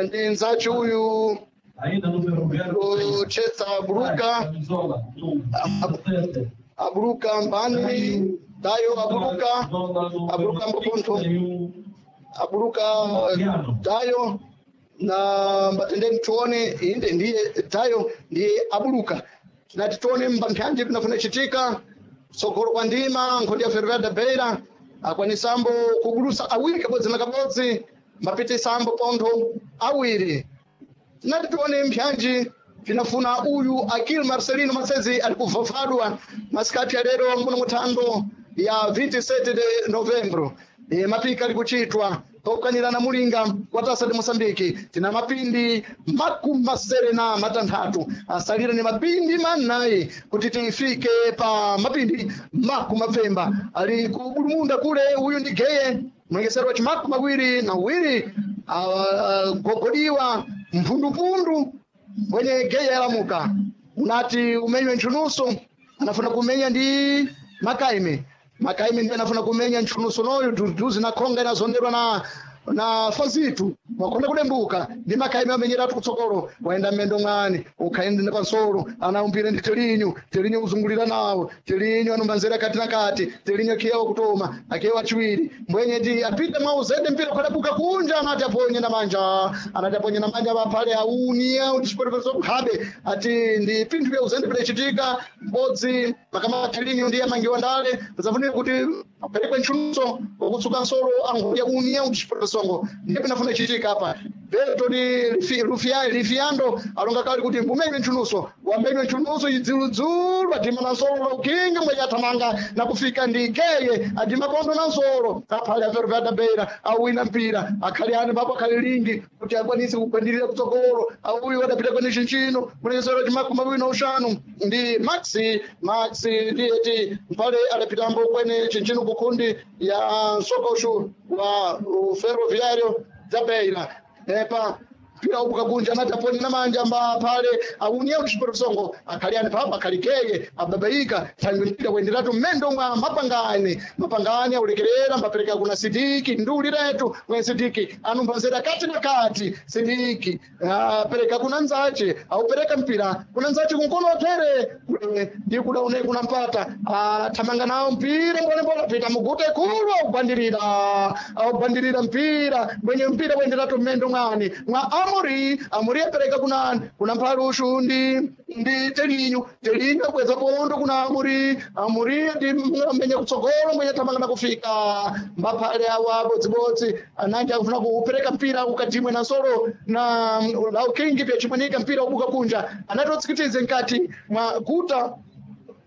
Ndi nzachi uyu kuchetsa abuluka abuluka mbani tayo abuluka abuluka mbopontho abuluka tayo na mbatendeni tione inde ndiye tayo ndiye abuluka. Tinati tione mbampyanji pinafuna chitika tsogolo kwa ndima nkhondi ya Ferroviário da Beira akwanisambo kugulusa awiri kabodzi na kabodzi mbapitisambo pontho awiri. Tinati tione mpyanji pinafuna uyu Akil Marcelino Masezi ali kuvavadwa masikati ya lero muno muthando ya 27 de Novembro. E, mapika ali kuchitwa tokanirana mulinga kwa tasa de Moçambique. Tina mapindi 66 asalire ni mapindi manayi kuti tifike pa mapindi 70. Ali kubulumunda kule uyu ndi geye mlengesero wa chimakumi mawiri na uwiri gogodiwa mphundupundu mwenye geye yalamuka unati umenywe ntchunuso anafuna kumenya ndi makaime makaime ndiye anafuna kumenya ntchunuso noyo duzi na khonga inazonderwa na fazitu wakonda kudembuka ndi makaime amenyeratu kutsogolo waenda mmendo mwani ukhaenda pansolo anaumbire ndi telinyu telinyu uzungulira nawo telinyu anumbanzera kati na kati telinyu akiyewa kutoma akiyewa chiwiri mbwenye ndi apite mwa uzende mpira ukadabuka kunja anati aponye na manja anati aponye na manja paphale aunia utichiperepeso nkhabe ati ndi pinthu vya uzende pidachitika mbodzi makama telinyu ndiye amangiwa ndale pazafunika kuti aperekwe ntchunuso wakutsuka nsolo angodya unia utichiperepeso ndiye pinafuna chitika apa Berto ni Lufiando alonga kali kuti mbumenywe ntchunuso wamenywe ntchunuso idziludzulu adima na nsolo la ukingi mwenye athamanga na kufika ndi geye adima pondo na nsolo aphale a Ferroviário da Beira awina mpira akhali ani papo akhali lingi kuti akwanise kugwandirira kutsogolo auyu adapita kwene chinchino mulekesero chimakumi mawiri na uxanu ndi Maxi Maxi ndiyeti mphale adapitambo kwene chinchino kukhundi ya msokoxu wa Ferroviário da Beira. Epa mpira ubuka kunja anati aponye na manja mba pale aunia uchiperesongo akhali ani papa akhali keye ababaika thangwi mpira kuenderatu mmendo mwa mapangani mapangani aulekerera mbapereka kuna Sidiki nduli letu mwe Sidiki anumbazera kati na kati Sidiki apereka kuna nzache aupereka mpira kuna nzache kunkono tere kule ndi kudaone kuna mpata athamanga nawo mpira mbone mbona pita mugute kulu augwandirira augwandirira mpira mwenye mpira kuenderatu mmendo mwani mwa Amori Amori apereka kuna kuna mphalushu ndi telinyu telinyu akweza pondo kuna Amori Amori ndi mwenye kutsogolo mwenye thamanga na kufika mbaphale awa bodzibodzi ananji akufuna kupereka mpira ukatimwe na nsolo na laukingi pyachimwanika mpira ubuka kunja anatotsikitize nkati mwa guta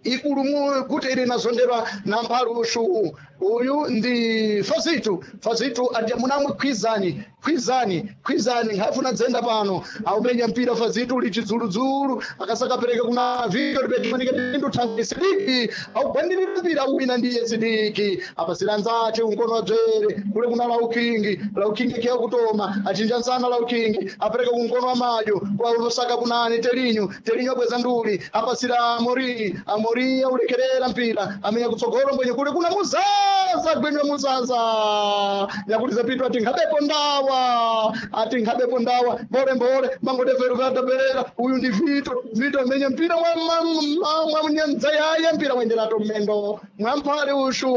ikulu kuti ili inazonderwa na mphalushu uyu ndi Fazitu Fazitu ati munamwe khwizani khwizani khwizani nkhafuna dzenda pano aumenya mpira Fazitu uli chidzuludzulu akasakapereka kuna Vito lipechimanike pindu thangi Sidiki augwandirira mpira uwina ndiye Sidiki apasira nzache unkono wa dzwere kule kuna Laukingi Laukingi kiya kutoma achinja nsana Laukingi apereka kunkono wa madyo kwa unosaka kunani Telinyu Telinyu abweza nduli apasira Amori Amori aulekerera mpira amenya kutsogolo mbwenye kule kuna Muzaza gwenywa Muzaza nyakuliza pitu ati nkhabepo ndawa ati nkhabepo ndawa mbole mbole mangote Ferroviário da Beira uyu ndi Vito Vito amenye mpira mwa yaye mpira wenderato mmendo mwamphale ushu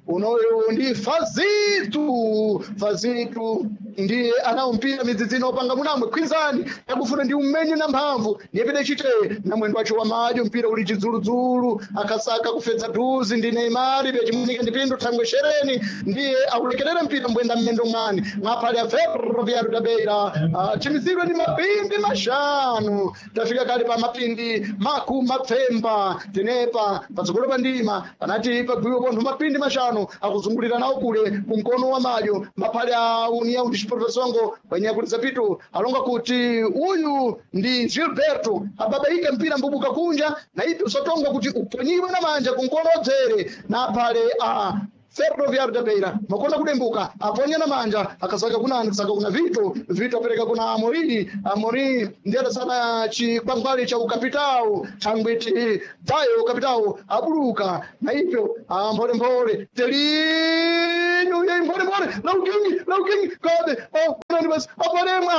unoyu ndi Fazitu Fazitu ndiye anawo mpira midzidzino opanga munamwe khwizani yakufuna ndi umenye na mphamvu ndiye pede chite na mwendo wacho wa madyo mpira uli chidzuludzulu akasaka kufedza dhuzi ndi Neymar pyachimunika ndi pindu thangwe shereni ndiye aulekerera mpira mbwenda mmendo mwani mwaphale a Ferroviário da Beira chimizidwe ndi mapindi maxanu tafika kale pa mapindi 70 tenepa patsogolo pa ndima panati pagwiwe pontho mapindi maxanu akuzungulira nawo kule kumkono wa madyo maphale a União Desportivo wanyakuliza pitu alonga kuti uyu ndi Gilberto ababaika mpira mbubuka kunja na ipi usatongwa kuti uponyiwe na manja kunkono odzere na phale a Ferroviário da Beira makonda kudembuka aponya na manja akasaka kuna akasaka kuna Vito Vito apereka kuna Amori Amori ndiye adasana chikwangwali cha ukapitao thangwiti tayo ukapitao abuluka na ipyo mpholemphole telinyu ye mpholemphole laukingi laukingi kobe oh Basi aparemwe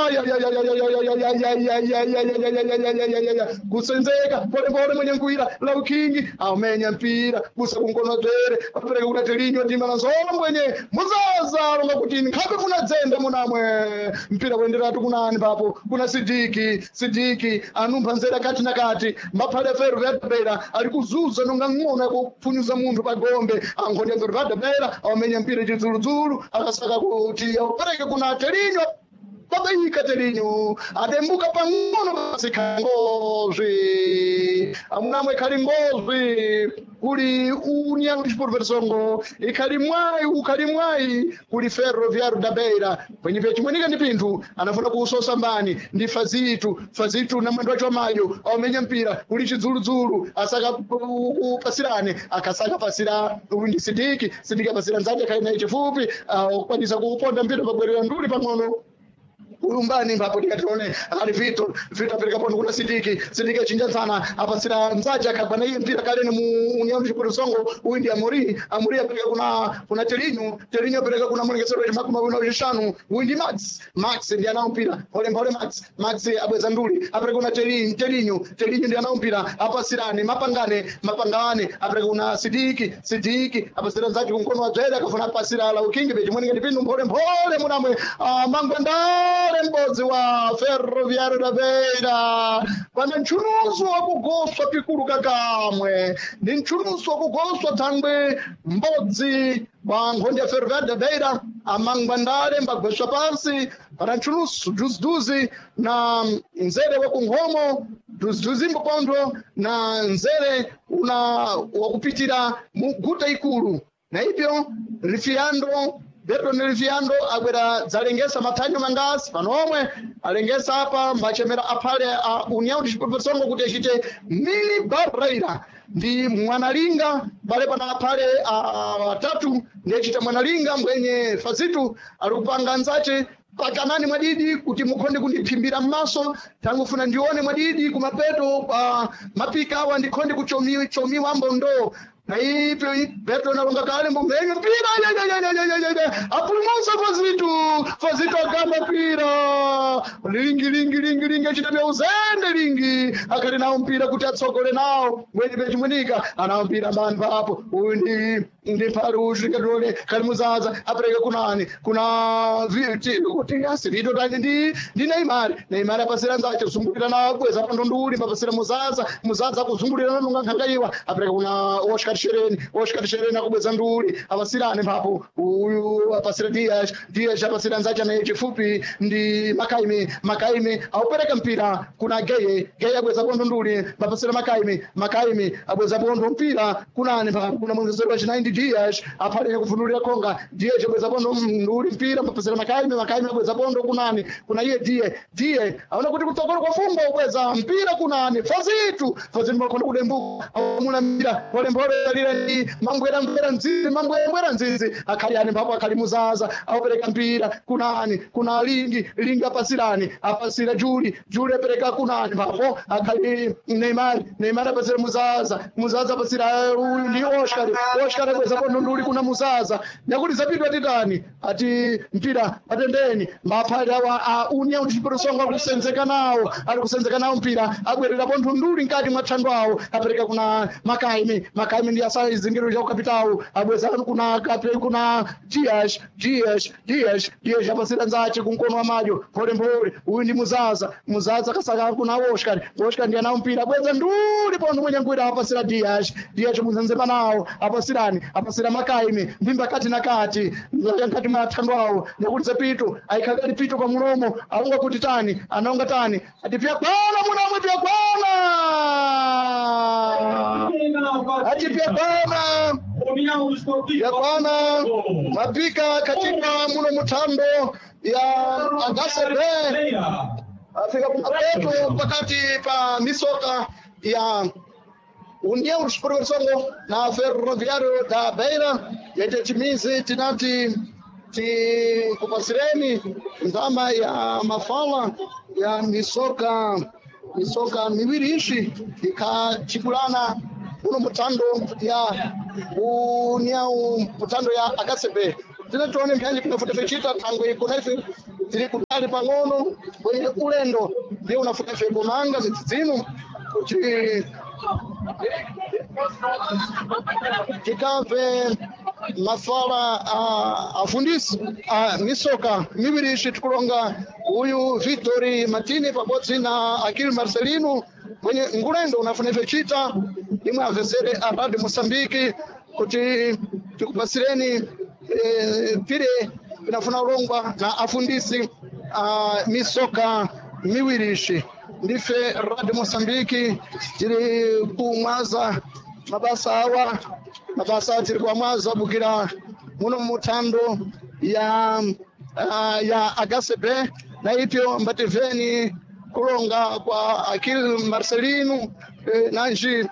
kusenzeka polepole mwenye nkuira laukingi amenya mpira kusa kunkonozere apereka kuna telinyo ndima na mbwenye muzaza alonga kuti nkhabe kuna dzenda munamwe mpira kuenderatu kunani papo kuna sidiki sidiki anumpha nzera kati na kati maphale feru vyadabera ali kuzuza nonga ng'ono yakupfunyuza munthu pagombe ankhonde feru vyadabera amenya mpira chidzuludzulu akasaka kuti aupereke kuna telinyo babaika telinyo adembuka pang'ono basi khangozwi amunamwe khali ngozwi kuli União Desportiva de Songo ikhali mwayi ukhali mwayi kuli Ferroviário da Beira kwenye pyachimwenika ndi pinthu anafuna kuusosa mbani ndi Fazitu Fazitu na mwendo wacho mayo aumenya mpira kuli chidzuludzulu asaka upasirane akasaka pasira uyu ndi Sidiki Sidiki apasira nzake akhali naye chifupi akwanisa kuuponda mpira pabwerera nduli pang'ono ulumbani mbapo tikatione ali Vitor Vitor apereka pondo kuna Sidiki Sidiki achinja sana apasira nzaja akagwa na iye mpira kaleni mu União de Songo uyu ndi Amori Amori apereka kuna kuna Telinho Telinho apereka kuna mulengesero wa makumi mawiri na uchishanu uyu ndi Max Max ndi anao mpira pole pole Max Max abweza nduli apereka kuna Telinho Telinho Telinho ndi anao mpira apasirani mapangane mapangane apereka kuna Sidiki Sidiki apasira nzaji kunkono wa dzwere akafuna apasira la ukingi pechimwenenge ndipindu mphole mphole munamwe mangwendale m'bodzi wa Ferroviário da Beira pana ntchunuso wakugoswa pikulu kakamwe ndi ntchunuso wakugoswa thangwe m'bodzi wa nkhondo ya Ferroviário da Beira amangwandale mbagweswa pansi pana ntchunuso duziduzi na nzere wakunkhomo duziduzi mbopontho na nzere una wakupitira mu guta ikulu na ibyo lifiyando Berton Liviando abwera dzalengesa mathanyo mangasi pano omwe alengesa apa mbachemera aphale a União de Songo kuti achite mini barreira ndi mwanalinga pale pana aphale atatu ndi achita mwanalinga mbwenye Fazitu ali kupanga nzache pakanani mwadidi kuti mukhonde kundiphimbira m'maso tangofuna ndione mwadidi kumapeto pa mapika awa ndikhonde kuchomiwa chomiwa mbondo na ipyo Beto nalonga kale mbombenyo mpira apulumusa Fazitu Fazitu agamba mpira lingi lingi lingi lingi achita bya uzende lingi akhali nawo mpira kuti atsogole nawo mwenye pechimwenika anawo mpira mbani papo uyu ndi ndi phali uyu khali muzaza apereka kunani kuna kuti asirito tani ndi ndi Neymar Neymar apasira nzache kuzungulira nawo bweza pandonduli mapasira muzaza muzaza akuzungulira nalonga nkhangaiwa apereka kuna Oscar Shereni Oscar Shereni akubweza nduli apasirane mphapo uyu apasira Dias Dias apasira nzache naye chifupi ndi Makaime Makaime aupereka mpira kuna Geye Geye abweza pondo nduli mapasira Makaime Makaime abweza pondo mpira kunani mphapo kuna mwenzero wa chinayi ndi Dias aphaleke kufunulira konga Dias abweza pondo nduli mpira mapasira Makaime Makaime abweza pondo kunani kuna iye Die Die aona kuti kutsogolo kwa fumbo ubweza mpira kunani Fazitu Fazitu makonda kudembuka amuna mpira pole pole lile ndi mangwera ngwera nzizi mangwera nzizi akhali ani mphapo akhali muzaza aupereka mpira kunani kuna lingi lingi apasirani apasira Juli Juli apereka kunani mphapo akhali Neymar Neymar apasira muzaza muzaza apasira uyu ndi Oscar Oscar abweza pondo nduli kuna muzaza nyakuti zapidwa titani ati mpira patendeni maphali awa a União de Songo akusenzeka nawo ali kusenzeka nawo mpira abwerera pontho nduli mkati mwa thando awo apereka kuna Makaime Makaime ndi asalizingiro cha ukapitawo abweza kuna kape kuna Dias Dias Dias Dias apasira nzache kunkono wa madyo mpole mpole uyu ndi muzaza muzaza kasaka kuna Oscar Oscar ndi anawo mpira abweza nduli pontho mwenye ngwira apasira Dias Dias muzenzema nawo apasirani apasira Makaime mbimba kati na kati nkati mwa thando awo nyakuti zapito aikakali pito pa mulomo aunga kuti tani anaunga tani ati pyakwana munamwe pyakwana ati pyakwana pyakwana mapika katika muno muthambo ya agasebe afika kumapeto pakati pa misoka ya União Desportiva Songo na Ferroviário da Beira yete chimizi tinati tikupasireni ndama ya mafala ya misoka misoka miwiri ishi ikachipulana uno mutando ya União mutando ya akasebe tine tione mpyanji pinafuti ficita thangwe kuna ife Tiri kutali pang'ono kwenye ulendo ndiye unafuna ife kumanga zidzino kuti tikamve mafala a afundisi a misoka miwiri ici tikulonga uyu Victor Martini pabodzi na Akil Marcelino mwenye ngulendo unafuna ife chita imwe avesere a Radio Mosambiki kuti tikupasireni pire pinafuna ulongwa na afundisi a misoka miwiri ici. Ndife Radio Mosambiki tiri kumwaza mabasa awa, mabasa tiri kuamwaza bukira muno muthando ya HCB na ipyo mbativeni kulonga kwa Akil Marcelino nanji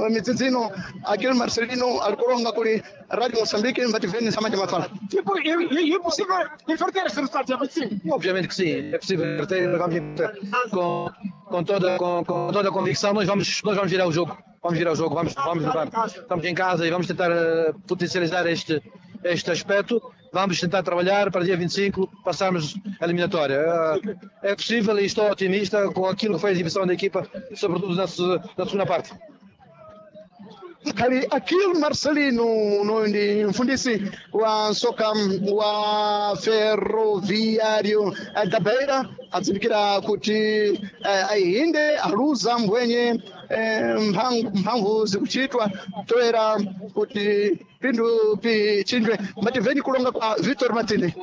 midzidzino Akil Marcelino alikulonga kuli Radio Moçambique mbativeni samanja mafala. Tipo, e possível inverter este resultado, é possível? Obviamente que sim, é possível inverter, vamos inverter com toda a convicção, nós vamos virar o jogo, vamos virar o jogo, vamos levar, estamos em casa e vamos tentar potencializar este aspecto, vamos tentar trabalhar para dia 25 passarmos a eliminatória. É possível e estou otimista com aquilo que foi a exibição da equipa, sobretudo na segunda parte. Kali Akil Marcelino no ndi mfundisi wa soka wa Ferroviário da Beira adzindikira kuti ahinde aluza mbwenye mphamvu zikuchitwa toera kuti pinthu pichinjwe. Mbativeni kulonga kwa Victor Martini.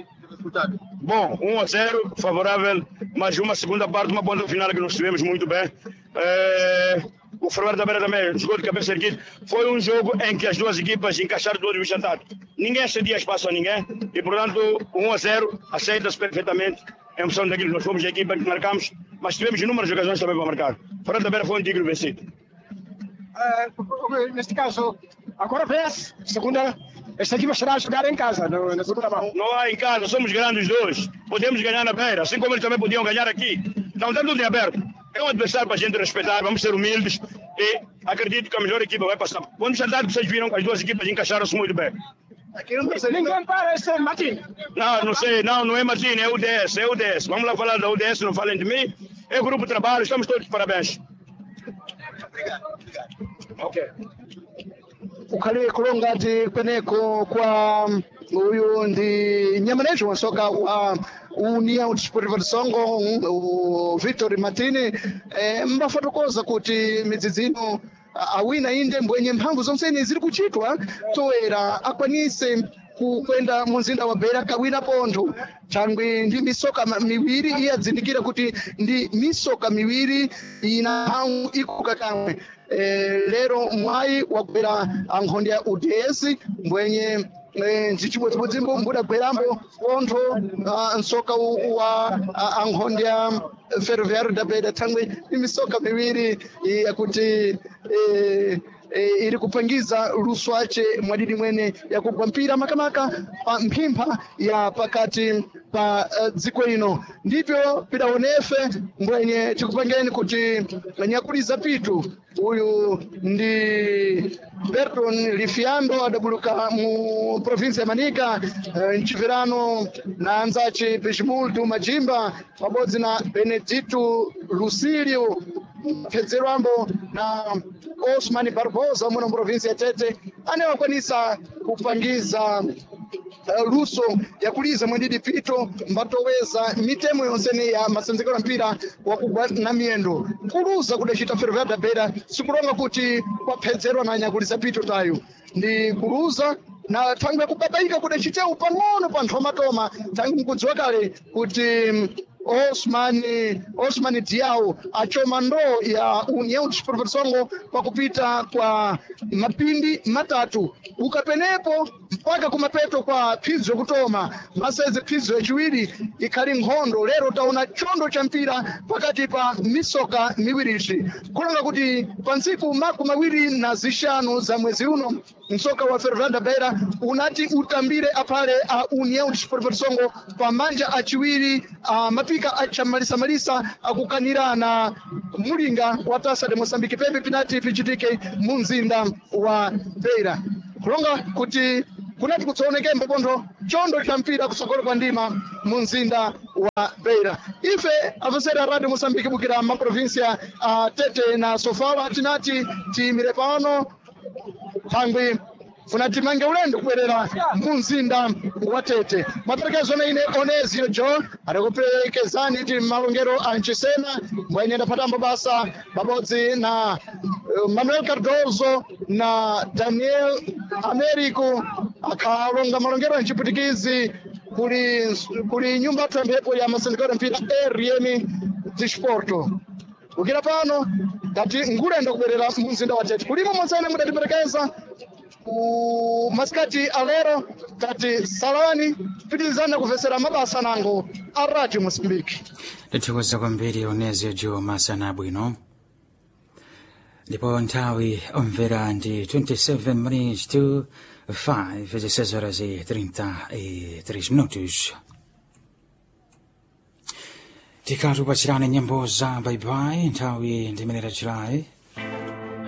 Bom, 1-0, favorável, mas uma segunda parte, uma ponta final que nós tivemos muito bem. O Ferroviário da Beira também jogou de cabeça erguida. Foi um jogo em que as duas equipas encaixaram todos os jantar. Ninguém cedia espaço a ninguém e, portanto, 1-0 aceita-se perfeitamente em função daquilo que nós fomos a equipa que marcamos, mas tivemos inúmeras ocasiões também para marcar. O Ferroviário da Beira foi um digno vencido. Neste caso, agora vê-se, segunda, esta equipa estará a jogar em casa, no, na segunda mão. Não há em casa, somos grandes dois. Podemos ganhar na Beira, assim como eles também podiam ganhar aqui. Então está tudo em aberto. É um adversário para a gente respeitar, vamos ser humildes e acredito que a melhor equipa vai passar. Quando jantar, vocês viram que as duas equipas encaixaram-se muito bem. Ninguém para esse Martin. Não, não sei, não, não é Martin, é UDS, é UDS. Vamos lá falar da UDS, não falem de mim. É grupo de trabalho, estamos todos de parabéns. Obrigado, obrigado. Ok. Ukhale kulongati kweneko kwa uyu ndi nyamanejo wasoka wa União Desportiva de Songo, o Victor Martini, mbafotokoza kuti midzidzino awina inde mbwenye mphamvu zonsene ziri kuchitwa toera akwanise kukwenda muzinda wa Beira kawina pontho thangwi ndi misoka miwiri iye adzindikira kuti ndi misoka miwiri ina mphamvu ikuka kamwe. Lero mwayi wagwera ankhonde ya UDS mbwenye ndichimodzimodzimbo mbudagwerambo pontho msoka wa ankhonde ya Ferroviário da Beira thangwi ndi misoka miwiri yakuti iri kupangiza luswace mwadidi mwene yakugwa mpira makamaka pa mphimpha ya pakati pa dziko ino. Ndipyo pidaonefe mbwenye tikupangeni kuti nyakuliza pitu uyu ndi Berton Lifiando adabuluka mu provinsi ya Manica, mchipirano na anzace Pechimultu Majimba pabodzi na Benedito Lucilio Phedzerwambo na Osman Barbosa muno muprovinsi ya Tete anewakwanisa kupangiza luso yakuliza mwendidi pito mbatoweza mitemo yonsene ya masenzekero ya mpira wakugwa na miyendo. Kuluza kudacita Ferroviário da Beira sikulonga kuti kwaphedzerwa na nyakuliza pito tayo ndi kuluza na thangwi yakubabaika kudacitewu pang'ono pa nthomatoma thangwi mkudziwa kale kuti Osman Diao achoma ndoo ya União Desportiva de Songo pakupita kwa mapindi matatu ukapenepo mpaka kumapeto kwa phidzo kutoma maseze phidzo yachiwiri ikhali nkhondo. Lero taona chondo cha mpira pakati pa misoka miwirici kulonga kuti pa ntsiku 25 za mwezi uno msoka wa Ferroviário da Beira unati utambire aphale a União Desportiva de Songo pa manja achiwiri a mapika achamalisamalisa akukanirana mulinga wa Taça de Moçambique pepe pinati pichitike mu mzinda wa Beira kulonga kuti Kunati kutsaonekembo pontho chondo cha mpira kusogolo kwa ndima mu mzinda wa Beira. Ife afesera Radio Mosambiki bukira maprovinsia a Tete na Sofala tinati tiyimire pano thangwi funa timange ulendo kubwerera mu mzinda wa Tete. Maperekezo na ine Onezio Jo adikuperekezani ti malongero a Nchisena mbwenye ndapatambo basa pabodzi na Manuel Cardoso na Daniel Americo akhalonga malongero a Nchiputikizi kuli nyumba yathu ya mphepo ya masindikiro mpira RM Disporto. Ukira pano ngati ngulendo kubwerera mu mzinda wa Tete kulimo monsene mudatiperekeza ku masikati alero tati salani pitirizana kuvesera mabasa nango a Radio Mosambiki. Ndithokoza kwambiri Onezio Jo masana abwino. Ndipo nthawi omvera ndi 27 minutes to 5, 16 horas e 33 minutos. Tikati upachirane nyimbo za baibai nthawi ndi imene tachilayi.